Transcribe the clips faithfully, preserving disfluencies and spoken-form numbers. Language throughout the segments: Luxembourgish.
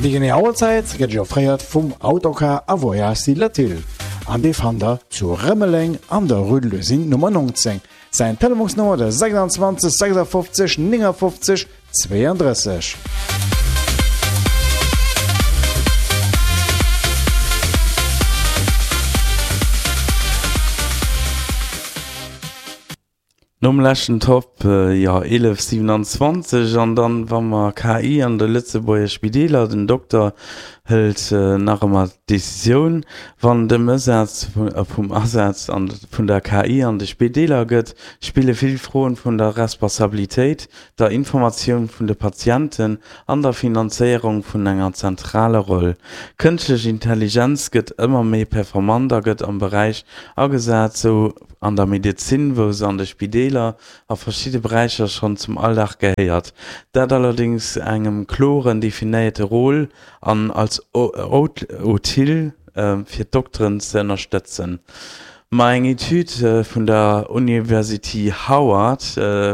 Déi genee Auerzäit gëtt Iech offréiert vum Autocar a Voyage Latil an dee fannt der zu Rëmeleng an der Rue de l'Usine Nummer neunzéng. Säin Telefonsnummer de sechsundzwanzeg sechsundfünfzig neunundfünfzig zweiunddrësseg. Nom leschten Top, jo, eelef siewenanzwanzeg an dann, wa mer K I an de Lëtzebuerger Spideeler, den Dokter hëlt nach ëmmer d'Decisioun, wann dem Ësaz vum Asaz vun der K I an de Spideeler gëtt, spille vill Froen vun der Responsabilitéit, der Informatioun vun de Patienten an der Finanzéierung vun enger zentraler Roll. Kënschtlech Intelligenz gëtt ëmmer méi performant a gëtt am Beräich agesat, sou an der Medezin, wou se an de Spideeler a verschidde Beräicher schonn zum Alldag gehéiert. Dat allerdéngs engem kloren definéierte Rôle an als Outil fir d'Dokteren ze ënnerstëtzen. Ma eng Etüd vun der University Howard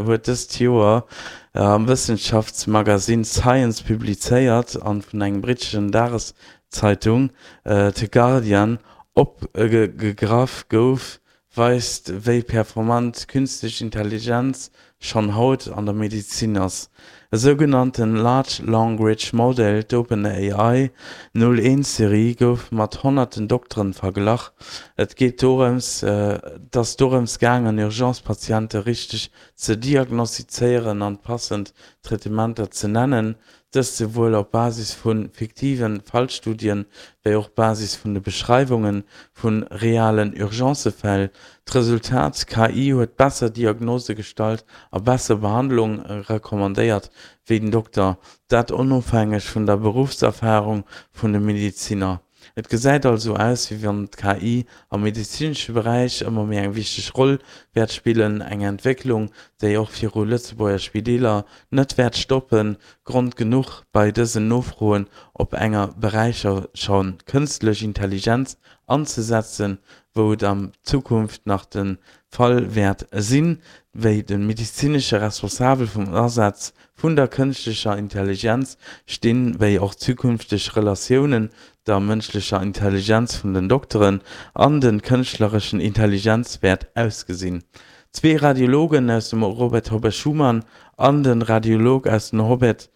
huet dëst Joer am Wëssenschaftsmagasinn Science publizéiert an vun engem britteschen Dageszeitung, The Guardian, opgegraff gouf, weist, wéi performant d'künstlech Intelligenz schonn haut an der Medezin ass. E sougenannte Large Language Model, d'OpenAI null eent Serie, gouf mat honnerten Dokteren verglach. Et geet dorëms, et ass dorëms gaangen, Urgence-Patiente richteg ze diagnostizéieren an passend Traitementer ze nennen, dëst souwuel op Basis vu fiktive Fallstudien, wéi och Basis vun de Beschreiwunge vu realen Urgencefäll. D'Resultat, K I huet besser Diagnose gestallt a besser Behandlung recommandéiert wéi den Dokter, dat onofhängeg vun der Beruffserfarung vun de Medeziner. Et gesäit also aus, wéi wann d'K I am medezinesche Beräich ëmmer méi eng wichteg Roll wäert spillen, eng Entwécklung, déi och viru Lëtzebuerger Spideeler net wäert stoppen. Grond genuch, bei dësen Nofroen op enge Beräicher scho kënstlech Intelligenz anzesetzen, wou et an Zukunft nach de Fall wäert sinn. Wéi de medezinesche Responsabel vum Asaz vun der kënschtlecher Intelligenz stinn, wéi och zukünfteg Relatiounen der mënschlecher Intelligenz vun den Dokteren an de kënschtlerechen Intelligenz wäert ausgesinn. Zwee Radiologen aus dem Robert Robert Schuman an de Radiolog aus dem Robert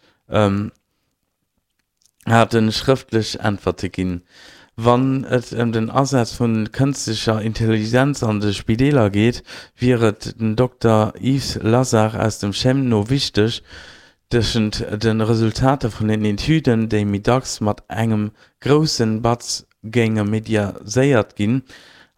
hate schrëftlech Äntwerte ginn. Wann et ëm den Asaz vu kënstlecher Intelligenz an de Spideeler geet, wier et dem Dokter Yves Lazard aus dem CHEM no wichteg, tëschent de Resultater vun den Etüden, déi méi dacks mat engem grousse Batz géinge mediaséiert ginn,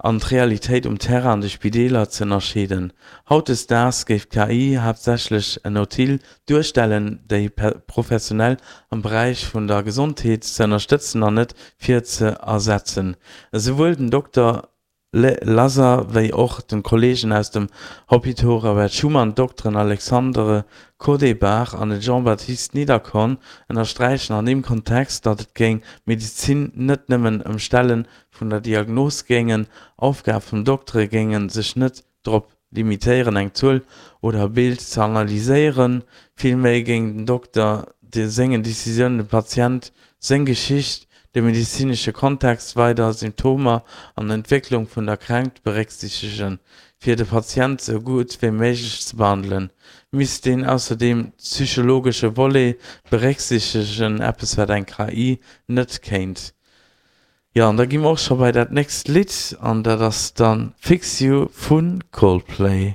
an d'Realitéit um Terrain an de Spideeler ze ënnerscheeden. Hautdesdaags géif d'K I haaptsächlech en Outil duerstellen, déi Professionell am Beräich vun der Gesondheet ze ënnerstëtzen an net fir ze ersetzen. Esouwuel den Dokter Lazard wéi och d'Kolleegen aus dem Hôpital Robert Schuman, d'Dokteren Alexandre Codebach an de Jean-Baptiste Niederkorn, ënnersträichen an deem Kontext, datt et géing Medezin net nëmmen ëm Stelle vun der Diagnos géingen, Aufgabe vun Doktere géinge sech net drop limitéieren, eng Zuel oder e Bild ze analyséieren, villméi géing den Dokter sengen Decisiounen de Patient seng Geschicht, de medezinesche Kontext, weider Symptomer an d'Entwécklung vun der Kränkt berécksiichtegen. Fir de Patient sou gutt wéi méiglech ze behandelen, misst een ausserdeem psychologesche Volet berécksiichtegen, eppes wat eng K I net kéint. Jo, an da gi mer och scho bei dat nächst Lidd an dat ass dann Fix You vu Coldplay.